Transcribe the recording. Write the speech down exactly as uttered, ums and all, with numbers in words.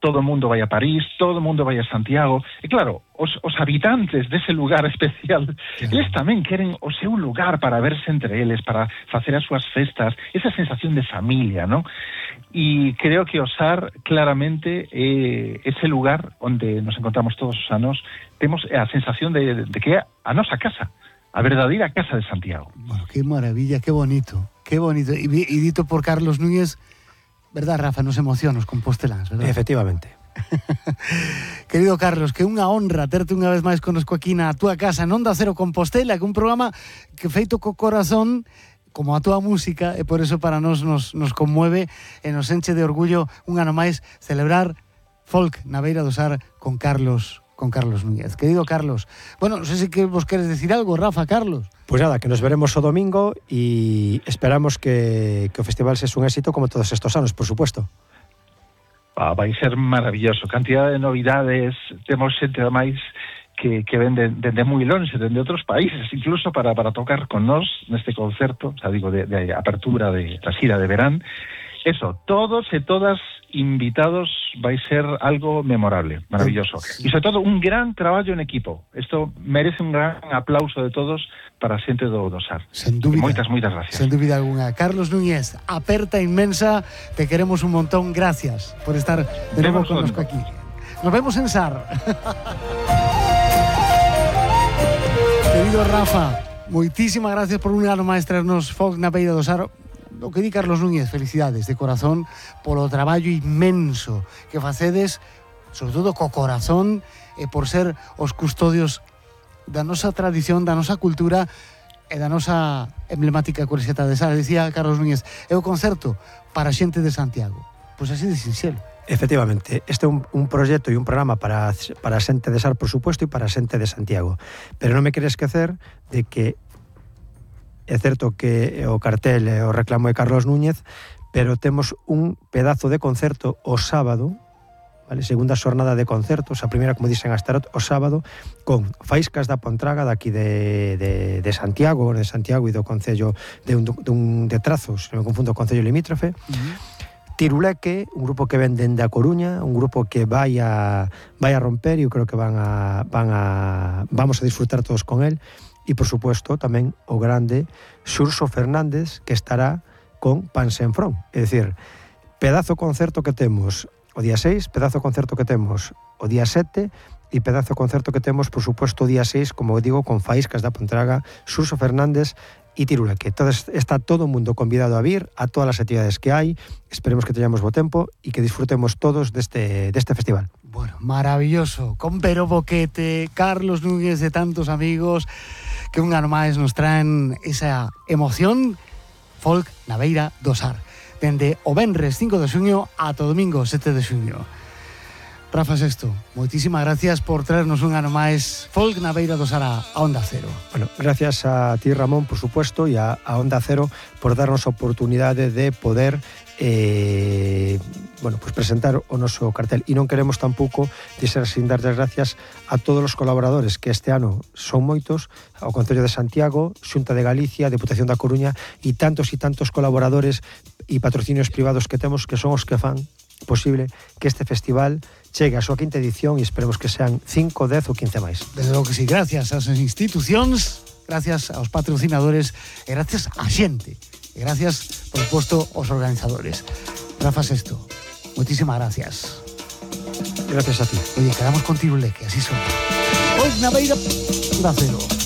todo o mundo vai a París, todo o mundo vai a Santiago, e claro, os, os habitantes dese lugar especial, claro, eles tamén queren o seu lugar para verse entre eles, para facer as súas festas, esa sensación de familia, ¿no? E creo que Osar claramente é ese lugar onde nos encontramos todos os anos, temos a sensación de, de que é a nosa casa, a verdadeira casa de Santiago. Bueno, qué maravilla, qué bonito, qué bonito. Y, y dito por Carlos Núñez, ¿verdad, Rafa? Nos emociona os composteláns, ¿verdad? Efectivamente. Querido Carlos, que unha honra terte unha vez máis conosco aquí na túa casa en Onda Cero Compostela, que un programa que feito co corazón como a túa música, e por eso para nós nos, nos conmueve e nos enche de orgullo un ano máis celebrar folk na beira do Sar con Carlos con Carlos Núñez. Querido Carlos, bueno, non sei se que vos queres decir algo, Rafa, Carlos. Pues nada, que nos veremos o domingo e esperamos que, que o festival sexa un éxito como todos estos anos, por supuesto. Ah, vai ser maravilloso, cantidad de novidades, temos xente máis que, que ven de, de, de moi longe, de, de outros países, incluso para, para tocar con nós neste concerto, o sea, digo, de, de apertura de la xira de verán. Eso, todos e todas invitados, vai ser algo memorable, maravilloso. E sobre todo un gran traballo en equipo. Isto merece un gran aplauso de todos para a xente do, do Sar. Sen dúbida. Moitas, moitas gracias. Sen dúbida alguna. Carlos Núñez, aperta inmensa, te queremos un montón, gracias por estar de novo connosco aquí. Nos vemos en Sar. Querido Rafa, moitísimas gracias por un ano máis traernos folk na beira do Sar. O que di Carlos Núñez, felicidades de corazón polo traballo inmenso que facedes, sobre todo co corazón, e por ser os custodios da nosa tradición, da nosa cultura e da nosa emblemática Corseta de Sar. Dicía Carlos Núñez, é o concerto para a xente de Santiago. Pois así de sinxelo. Efectivamente, este é un, un proxecto e un programa para, para a xente de Sar, por supuesto, e para a xente de Santiago. Pero non me quere esquecer de que é certo que o cartel é o reclamo de Carlos Núñez, pero temos un pedazo de concerto o sábado, vale? Segunda xornada de concertos, a primeira, como dixen, Astarot, o sábado, con Faíscas da Pontraga, daqui de, de, de Santiago, de Santiago e do Concello de, un, de, un, de Trazos, se me confundo, o Concello limítrofe, uh-huh. Tiruleque, un grupo que ven dende a Coruña, un grupo que vai a, vai a romper, e eu creo que van a, van a, vamos a disfrutar todos con él. E, por supuesto, tamén o grande Xurxo Fernández, que estará con Pansenfrón. É dicir, pedazo concerto que temos o día seis, pedazo concerto que temos o día sete, e pedazo concerto que temos, por supuesto, o día seis, como digo, con Faíscas da Pontraga, Xurxo Fernández e Tiruleque. Entonces, está todo o mundo convidado a vir a todas as actividades que hai. Esperemos que teñamos bo tempo e que disfrutemos todos deste, deste festival. Bueno, maravilloso. Con Pero Boquete, Carlos Núñez, de tantos amigos que un ano máis nos traen esa emoción folk na beira do Sar. Dende o venres cinco de xuño ata o domingo sete de xuño. Rafa Sexto, moitísimas gracias por traernos un ano máis folk na beira do Sar a Onda Cero. Bueno, gracias a ti, Ramón, por supuesto, e a, a Onda Cero por darnos a oportunidade de poder eh, bueno, pues presentar o noso cartel. E non queremos tampouco deixar sin dar as gracias a todos os colaboradores, que este ano son moitos, ao Concello de Santiago, Xunta de Galicia, Deputación da Coruña, e tantos e tantos colaboradores e patrocinios privados que temos, que son os que fan posible que este festival chegue a súa quinta edición, e esperemos que sean cinco, dez ou quince máis. Desde logo que sí, gracias ás institucións, gracias aos patrocinadores e gracias á xente. E gracias, por suposto, aos organizadores. Rafa Sexto, moitísimas gracias. Gracias a ti. Oye, quedamos con Tiruleque, así son. Hoy na beira da Cero.